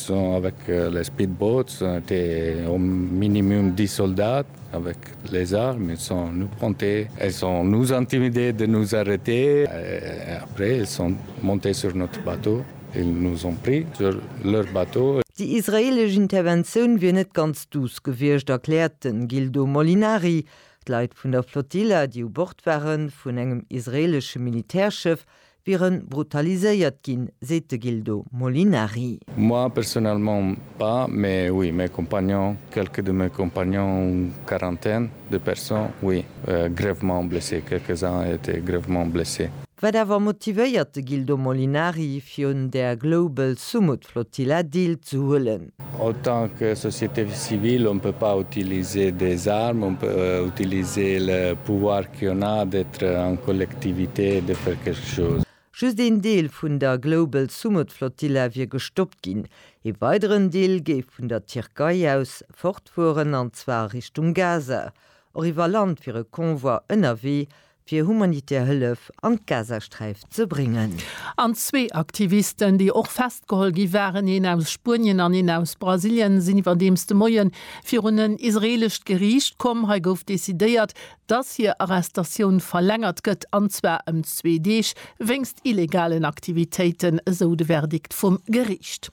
Sont avec euh, les speedboats, étaient au minimum 10 soldats avec les armes, ils sont nous pointés, elles sont nous intimidés de nous arrêter. Et après, ils sont montés sur notre bateau. Ils nous ont pris sur leur bateau. Déi israeelesch Interventioun wier net ganz duuss gewiescht, erkläert den Gildo Molinari. D'Leit vun der Flotilla, déi u Bord waren vun engem israeelesche Militärschëff, wiere brutaliséiert ginn, seet de Gildo Molinari. Moi personnellement pas, mais oui, mes compagnons, quelques de mes compagnons, une quarantaine de personnes, oui, euh, grèvement blessés, quelques-uns étaient grèvement blessés. Wat awer motivéiert de Gildo Molinari, fir un där Global Sumud Flotilla deelzehuelen? Autant que société civile, on peut pas utiliser des armes, on peut euh, utiliser le pouvoir qu'on a d'être en collectivité et de faire quelque chose. Just een Deel vun der Global Sumud Flotilla wier gestoppt ginn. Ee weideren Deel géif vun der Tierkei aus fortfueren, an zwar a Richtung Gaza. Och iwwer Land wier e Convoi ënnerwee, fir humanitär Hëllef an d'Gazasträif ze bréngen. An zwee Aktivisten, déi och festgeholl gi waren, een aus Spuenien an een aus Brasilien, sinn iwwerdeems de Moie virun en israeelescht Geriicht komm. Hei gouf decidéiert, dass hir Arrestatioun verlängert gëtt, an zwar ëm zwee Deeg, wéinst illegalen Aktivitéiten, esou de Verdikt vum Geriicht.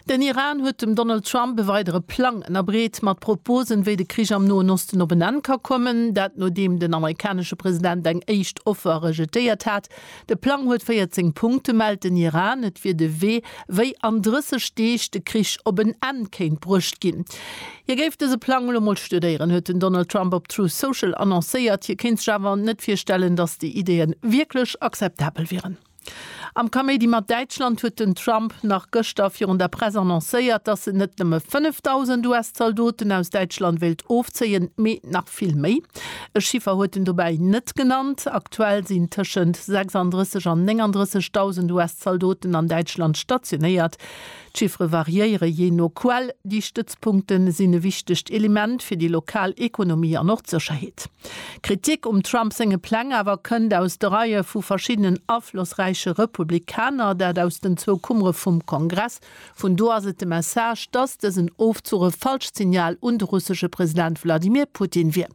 Den Iran huet dem Donald Trump e weidere Plang ënnerbreet, mat Proposen, wéi de Krich am Noen Osten op en Enn ka kommen. Dat nodeem den amerikanesche President eng éischt Offer rejetéiert hat. De Plang huet 14 Punkte, mellt den Iran. Et wier de Wee, wéi an 30 Deeg de Krich op en Enn kéint bruecht ginn. Hie géif dëse Plang elo mol studéieren, huet den Donald Trump op Truth Social annoncéiert. Hie kéint sech awer net virstellen, datt déi Ideeë wierklech akzeptabel wieren. Am Kaméidi mat Däitschland huet den Trump nach gëschter virun der Press annoncéiert, datt en net nëmme 5.000 US-Zaldoten aus Däitschland wéilt ofzéien, mee nach vill méi. E Chiffer huet en dobäi net genannt. Aktuell sinn tëschent 36 an 39.000 US-Zaldoten an Däitschland stationéiert. D'Chiffere variéiere jee no Quell. Déi Stëtzpunkte sinn e wichtegt Element fir déi lokal Ekonomie an och d'Sécherheet. Kritik um Trump senge Pläng awer kënnt aus de Reie vu verschiddenen aflossräiche Republikaner, dat aus den zwou Kummere vum Kongress. Vun do ass et de Message, datt dësen Ofzuch e falscht Signal un de russesche President Wladimir Putin wier.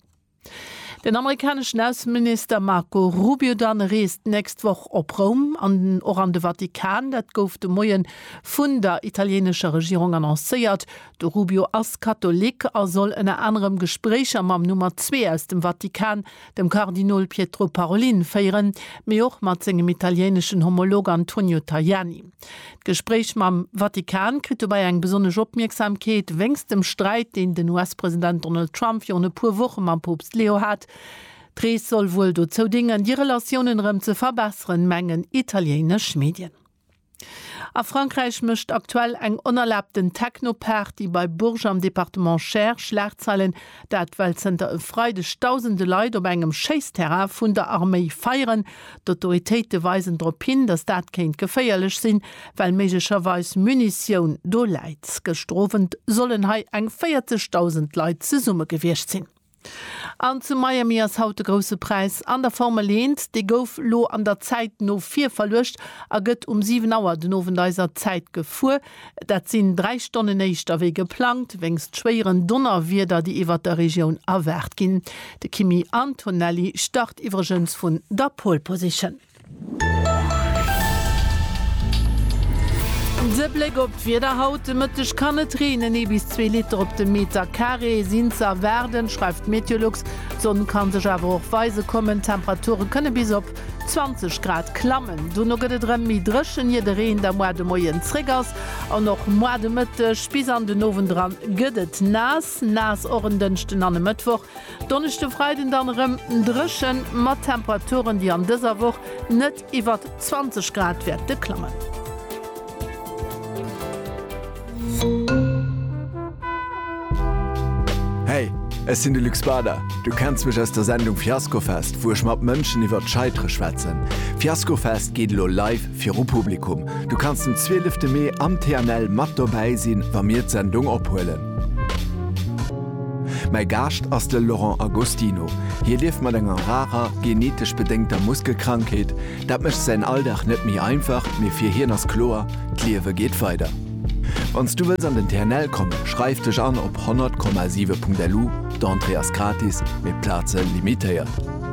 Den amerikaneschen Ausseminister Marco Rubio dann reest d'nächst Woch op Roum an och an de Vatikan. Dat gouf de Moie vun der italieenescher Regierung annoncéiert. De Rubio ass Katholik a soll ënner anerem Gespréicher mam Nummer 2 aus dem Vatikan, dem Kardinol Pietro Parolin, féieren, mee och mat sengem italieeneschen Homolog Antonio Tajani. D'Gespréich mam Vatikan kritt dobäi eng besonnesch Opmierksamkeet wéinst dem Sträit, deen den US-President Donald Trump virun e puer Woche mam Poopst Leo hat. D'Rees soll wuel dozou déngen, déi Relatiounen erëm ze verbesseren, mengen italiéinesch Medien. A Frankräich mécht aktuell eng onerlaabten Techno-Party bei Bourges am Departement Cher Schlagzeilen. Dat well zënter e Freideg dausende Leit op engem Schéissterrain vun der Arméi feieren. D'Autoritéite weisen drop hin, datt dat kéint geféierlech sinn, well méiglecherweis Munitioun do läit. Gëschter Owend sollen hei eng 40.000 Leit zesumme gewiescht sinn. An zu Miami ass haut de Grousse Präis an der Formel 1. Dee gouf lo an der Zäit no vir verluecht a gëtt um 7 Auer den Owend eiser Zäit gefuer. Dat sinn 3 Stonnen éischter wéi geplangt, wéinst schwéieren Donnerwieder, déi iwwert der Regioun erwaart ginn. De Kimi Antonelli start iwwregens vun der Pole Position. De Bléck op d'Wieder haut de Mëtteg kann et reenen, ee bis zwee Liter op de Meter Carré sinn ze erwaarden, schreift Meteolux. D'Sonn ka sech awer och weise kommen, d'Temperature kënne bis op 20 Grad klammen. Dono gëtt et erëm méi dréchen, ier de Reen da moar de Moien zréck ass. An och moar de Mëtteg bis an den Owend eran gëtt et naass. Naass och en Dënschden an e Mëttwoch. Donneschde, Freiden dann erëm dréchen, mat Temperaturen, déi an dëser Woch net iwwert 20 Grad wäerte klammen. Hey, ech sinn de Luc Spada. Du kenns mech aus der Sendung Fiaskofest, wou ech mat Mënschen iwwert d'Scheitere schwätzen. Fiaskofest geet elo live viru Publikum. Du kanns den 12 Mee am TNL mat dobäi sinn, wa mir d'Sendung ophuelen. Mäi Gaascht ass de Laurent Agostino. Hie lieft mat enger rarer, genetesch bedéngter Muskelkrankheet. Dat mécht säin Alldag net méi einfach, mee fir hien ass kloer, D'Liewe geet weider. Wann s du wëlls an den TNL kommen, schreif dech an op 100,7.lu. D'Entrée ass gratis, mee d'Plaze limitéiert.